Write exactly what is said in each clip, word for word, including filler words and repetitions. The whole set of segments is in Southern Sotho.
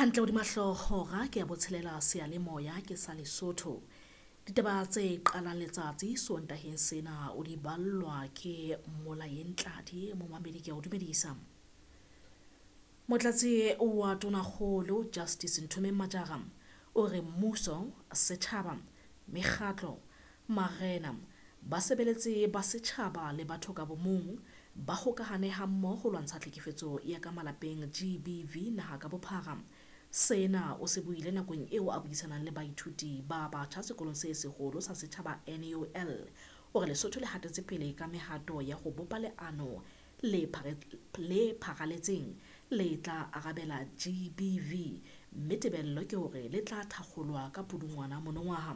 Hantle hodima hlooho hora ke ya botshelela seyalemoya ke sa Lesotho. Ditaba tse qalang letsatsi Sontaheng sena o di ballwa ke Molaeng Tladi momamedi ke a o dumedisa. Motlatsi wa Tonakgolo Justice Nthomeng Majara o re mmuso, setjhaba, mekgatlo, marena, basebeletsi ba setjhaba le batho ka bomong ba hokahane hammoho ho lwantsha tlhekefetso ya ka malapeng G B V naha ka bophara. Sena o se buile nakong eo a buisanang le baithuti ba batjha sekolong se seholo sa setjhaba N U L. O re Lesotho le hatetse pele ka mehato ya ho bopa leano le le pharaletseng le tla arabela G B V, mme tebello ke hore le tla thakgolwa ka Pudungwana monongwaha.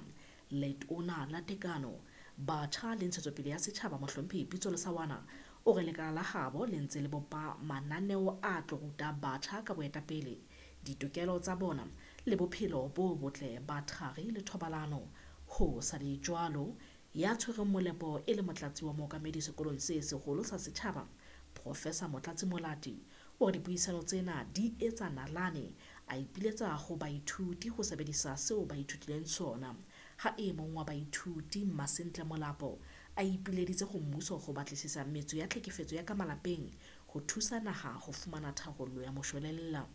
Letona la Tekano, Batjha le Ntshetsopele ya Setjhaba Mohlomphehi Pitso Lesawana o re lekala la habo le ntse le bopa mananeo a tlo ruta batjha ka boetapele, ditokelo tsa bona le bophelo bo botle ba thari le thobalano. Ho sa le jwalo, ya tshwereng molepo e le motlatsi wa mookamedi sekolong se seholo sa setjhaba, Professor Motlatsi Molati, o re dipuisano tsena di etsa nalane, a ipiletsa ho baithuti ho sebedisa seo ba ithutileng sona. Ha e mong wa baithuti Masentle Molapo a ipileditse ho mmuso ho batlisisa metso ya tlhekefetso ya ka malapeng ho thusa naha ho fumana tharollo ya moshwelella.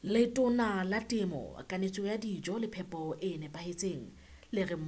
Letona la Temo, Kanetso ya Dijo le Phepo e Nepahetseng le re